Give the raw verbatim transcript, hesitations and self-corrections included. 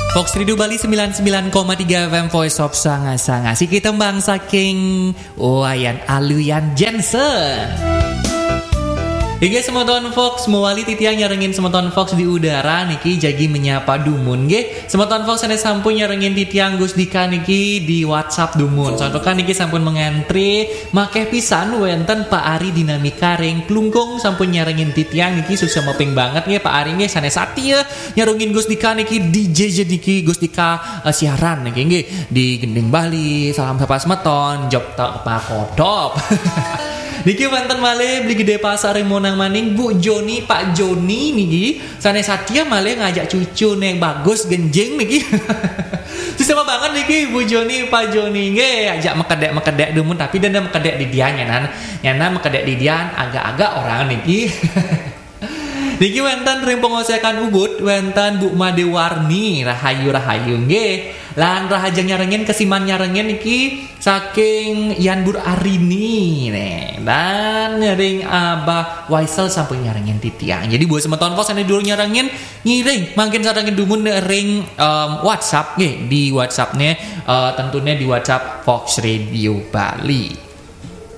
Fox Radio Bali sembilan sembilan koma tiga F M, Voice of Sanga-Sanga. Siki tembang saking Wayan Aluyan Jensen. Inggih, semeton Fox, mewali titiang nyarengin semeton Fox di udara niki, jagi menyapa dumun nggih. Semeton Fox, sané sampun nyarengin titiang Gus Dika niki di WhatsApp dumun. Santukan niki sampun mengantri, makéh pisan wénten Pak Ari Dinamika ring Klungkung sampun nyarengin titiang niki, suksma banget nggih Pak Ari nggih, sané satia nyarengin Gus Dika niki, D J J niki, Gus Dika, eh, siaran niki nggih di Gending Bali, salam sapa semeton, job tak pakodop. Niki wénten malih Beli Gedé Pasar ring Monang Maning, Bu Joni, Pak Joni niki, sané satia malih ngajak cucuné Bagus Genjing niki. Suksma banget niki Bu Joni, Pak Joni nggih, ajak mekedek-mekedek dumun, tapi dene mekedek didian nyanan, nyanan mekedek didian agak-agak orang niki. Niki wénten ring Pengosekan Ubud, wénten Bu Made Warni, rahayu, rahayu nggih. Lan rahajeng nyarengin, kesiman nyarengin niki saking Yan Bur Arini nih. Dan ring Abah Waisel sampun nyarengin titiang. Jadi buat semeton Fox sané durung nyarengin, ngiring mangkin sarengin dumun ring, em, WhatsApp nggih, di WhatsApp-né, eh, tentunya di WhatsApp Fox Radio Bali.